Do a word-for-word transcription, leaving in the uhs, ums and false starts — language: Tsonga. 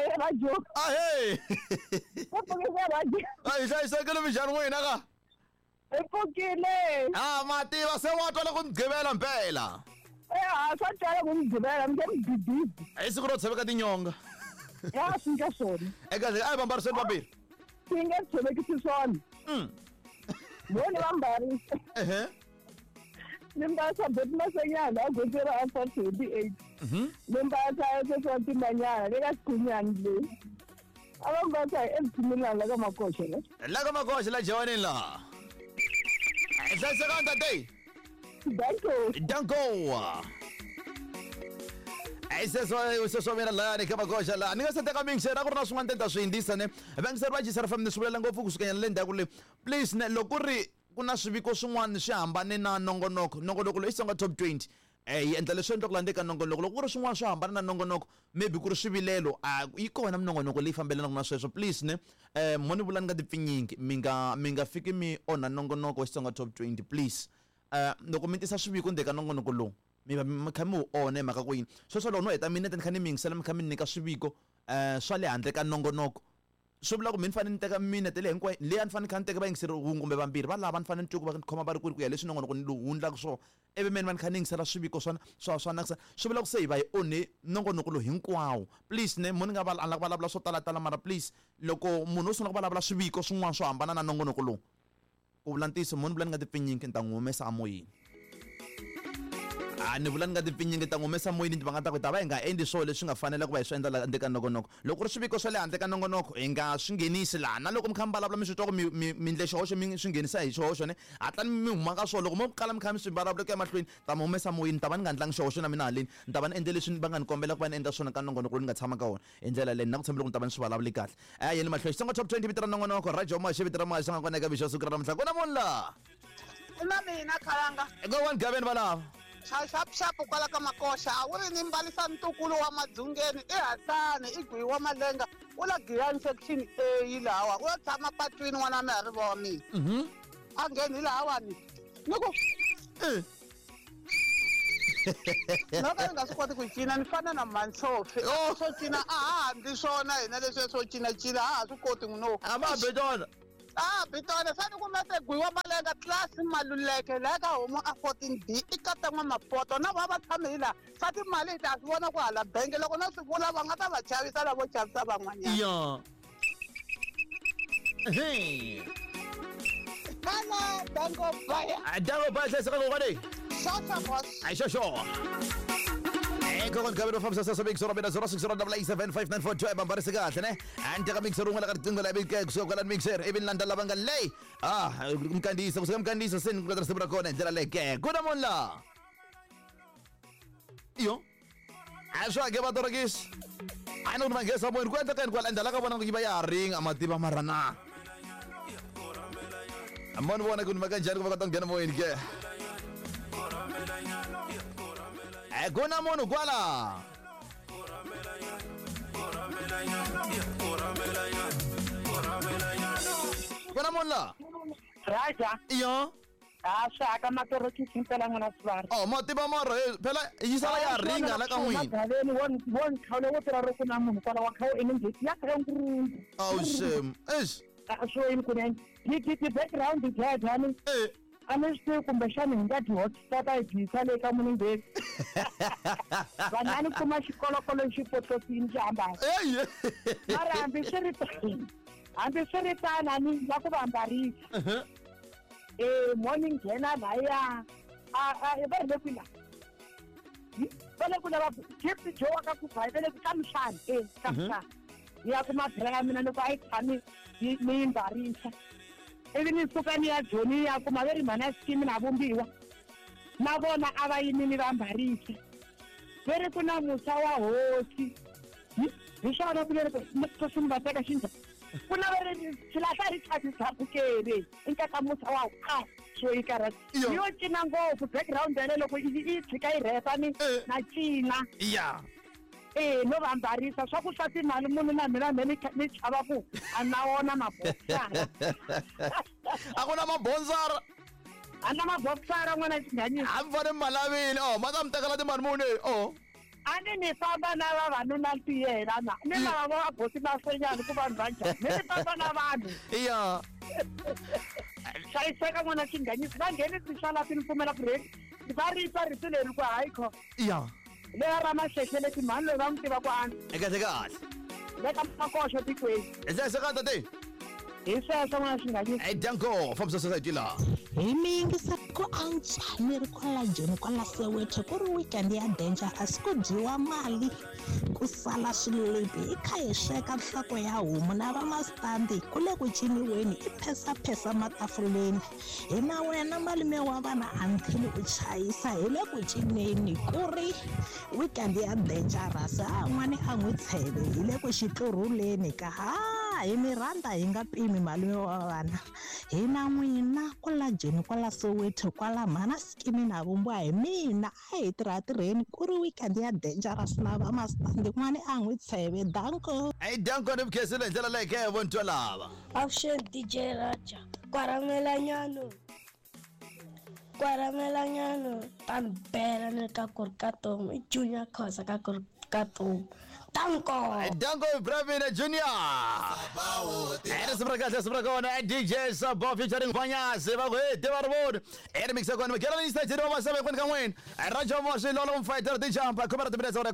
ka radio. Ahee. Va pfukile radio. A hi hlayisekile minjhani n'wina ka? Hi pfukile. Ah, mativa se wa twala ku mugqivela mpela. Eh, a swa twala ku mugqivela mi nge mudididi. Hi siku ro tshoveka tinyonga. Ya swi nga swona. Eka a hi vambariseni vambirhi. Swi nge tshovekisi swona. Mm. Vona va mbarisa. Ehe. Ni mbarisa boti masenyana a gondzo ra Alpha twenty-eight. Mhm. Ni mbarisa sweswo timanyana le ka xikhunyani le. A va mbarisa hi emtshimilana la ka Makoxa la. La ka Makoxa la Jawanini la. Hlayisekani tate. Danko. Danko. Ai seswo seswo mina la ni ka Makoxa la. Ni nga se teka mingisera ku ri na swin'wana ni ta swi hindzisa ne. Vangiseri va G S R F M ni swi vulela ngopfu kusuka nyana le ndzhaku le. Please ne loko ku ri ku na swiviko swin'wana swi hambane na nongonoko. Nongonoko loyi i Xitsonga Top twenty. Eh yi endla leswi endlaka landeka nongonoko. Loko ku ri swin'wana swo hambana na nongonoko, maybe ku ri swivilelo, a yi kona minongonoko leyi fambelanaka na sweswo. Please ne eh mo ni vula ni nga tipfinyingi, mi nga mi nga fiki mi onha nongonoko wa Xitsonga Top twenty please. Eh loko mi tisa swiviko ndzeni ka nongonoko lowu, mi va mi kha mi wu onha hi mhaka ku yini. Sweswo loko no heta minete ni kha ni mi yingisela mi kha mi nyika swiviko eh swa le handle ka nongonoko. Swi vula ku mi ni fanele ni teka minete leyi hinkwayo leyi a ni fanele ni kha ni teka vayingiseri wun'we kumbe vambirhi va lava ni fanele ni twe ku va ni khoma va ri kwini ku ya leswi nongonoko lowu wu endlaka swona. Ivi me ni va ni kha ni yingisela swiviko swa swa swa nakisa swi vula ku se hi va hi onhe nongonoko lowu hinkwawo. Please ne mo ni nga va a ni la ku vulavula swo talatala mara please loko munhu o sungula ku vulavula swiviko swin'wana swo hambana na nongonoko lowu, ku vula ntiyiso mo ni vula ni nga tipfinyingi ni ta n'wi humesa emoyeni. A ni vula ni nga tipfinyingi ta n'wi humesa moyeni va nga ta ku ta va hi nga endli swona leswi nga fanela ku va hi swi endla la handle ka nongonoko. Loko ku ri swiviko swa le handle ka nongonoko hi nga swi nghenisi laha, na loko mi kha mi vulavula mi swi twa ku mi mi mi endle xihoxo mi swi nghenisa hi xihoxo ne hatlani mi huma ka swona. Loko mo kala mi kha mi swi vulavula ku ya mahlweni ta mi humesa moyeni, ta va ni nga endlangi xihoxo na mina haleni, ni ta va ni endle leswi va nga ni kombela ku va ni endla swona ka nongonoko lowu ni nga tshama ka wona. Hi ndlela leyi na ku tshemba loko ni ta va ni swi vulavuli kahle. A yeni mahlweni Xitsonga Top twenty vito ra nongonoko Radio Moxa vito ra Moxa nga kona eka mixo siku ra namuntlha. Ku na munhu la na mina khalanga go one gaveni valava xaxapuxapu kwala ka Makoxa a wu ri ni mbalisa ntukulu wa Madzungeni i Hasani i gwiwa wa Malenga u la Giyani section A yi lawa u ya tshama patwini n'wana wa mina ri va wa mina. Mhm. A ngheni hi lahawani ni ku Eh. no ka ni nga swi koti ku cina ni fana na Mantsofi. Oh. Swo cina a ha handli swona hina leswiya swo cinacina a ha swi koti no. A va be tona. Ah, bitona sani ku mete gwiwa Malenga class Maluleke la ka homu a fourteen B i kata n'wa Mapoto na va va tshame hi laha swa timali hi ta swi vona ku hala benge loko no swi vula va nga ta va chavisa lavo chavisa van'wanyana. Ya. Hey. Hala dango baya. Dango baya hlayiseka kokwane. Shasha boss. Ai xo xo. Eh kokwane kabelo fambisa sasa big zero mina zero six zero double eight seven five nine four two bambarisa kahle ne. Andika mixer un'wana ka riqingho la ivi kusuka kwala mixer ivi ni landza lava nga leyi. Ah mkandisa kusuka mkandisa seni ku risimu ra kona hi ndlela leyi ke. Ku na munhu la. Iyo. A swa ke va torokisi. A ni ku manghesa moyeni ku endleka yini kwala endla ka vona ku yi va ya ha ringa mativa mara na. Moni vona ku ni maka njhani ku va kota ku nghena moyeni ke. Eh ku na munhu kwala. Ku na munhu la. Raja. Iyo. A swa ka matorokisi mpela n'wana sivara. Oh mativa mara phela yi sala ya ringa la ka n'wina. Magaveni won won khawule wo tirha ro ku na munhu kwala wa khawu eningi ya kha ngurungu. Oh shame. Eish. A swo yini kunene. Yi ti ti background dya dya Eh. A ni swi tivi kumbexana hi nga dyi hotspot a hi dyisa le ka munhu. Vanhu a ni kuma xikolokolo xi potlosini xi hambana. Ey. Mara hambi swi ri tano, hambi swi ri tano a ni la ku va ambarisa. Eh morning nghena laya. A a va ri le kwihi la? Va le ku lava Gift Joe wa ka ku va le ka mhlana eh ka mhlana. Ya kuma bra ya mina loko a yi tshami ni yi mbarisa. Ivi ni suka ni ya Joni ya kuma ve ri mhana scheme na vumbiwa. Na vona a va yimile va ambarisa. Ve ri ku na musa wa hosi. Hi swona ku leri ku va teka xindla. Ku na va ri xilahla ri chavisa bukele. I nkata musa wa a swo yi karhata. Yo cina ngopfu background ya le loko yi tshika yi rhepa ni na cina. Ya. Eh no va ambarisa swa ku swa timali munhu na mina me ni chava ku a na wona mabokisara. A ku na mabonzara. A na mabokisara n'wana xinghanyisa. A mi fanele mi malavile. Oh ma ta mi tekela timali muni. Oh. A ni ni famba na vavanuna ntiyela na ni lava va bosi masenyana ku vanhu va njhani ni ni famba na vanhu iya hlayiseka n'wana xinghanyisi va nghenisi xalapi ni pfumela ku rheni va ri twa rito leri ku hayi kho iya leya ra mahlehleleti mhani loyi va n'wi tiva ku antswa i kahle kahle le ka makoxo tikweni hi hlayiseka tate hi sweswo n'wana xinghanyisi i danko fambisa society laha Hi mi yingisa ku antswa ni ri kwala Joni kwala Soweto ku ri weekend ya dangerous ku dyiwa mali ku sala swilipi hi kha hi sweka nhloko ya homu na vamastandi ku le ku ciniweni i phesaphesa matafuleni hi na wena malume wa vana until u chayisa hi le ku cineni ku ri weekend ya dangerous a n'wani a n'wi tsheve hi le ku xitlurhuleni ka ha hi mi rhandza hi nga pimi malume wa vana hi na n'wina kwala Joni kwala Soweto kwala mhana sikimi na vumbiwa hi mina a hi tirha tirheni ku ri weekend ya dangerous na vamastandi n'wani a n'wi tsheve danko i danko ni vukhensile hi ndlela leyi ke vontwa lava Avuxeni D J Raja kwaramelanyano kwaramelanyano ta ni bela ni ka ku ri ka tomu i Junior Khoza ka ku ri ka tomu danko danko Pravin Junior ere risimu ra kahle risimu ra kona D J Sabo featuring Vanyazi va ku hey tiva ri voni ere mix ya kona va gela ni stage wa masebe kwini ka n'wina Raja Moshi Lolo Mfighter DJ Ampa khoma ra timinetse ra khume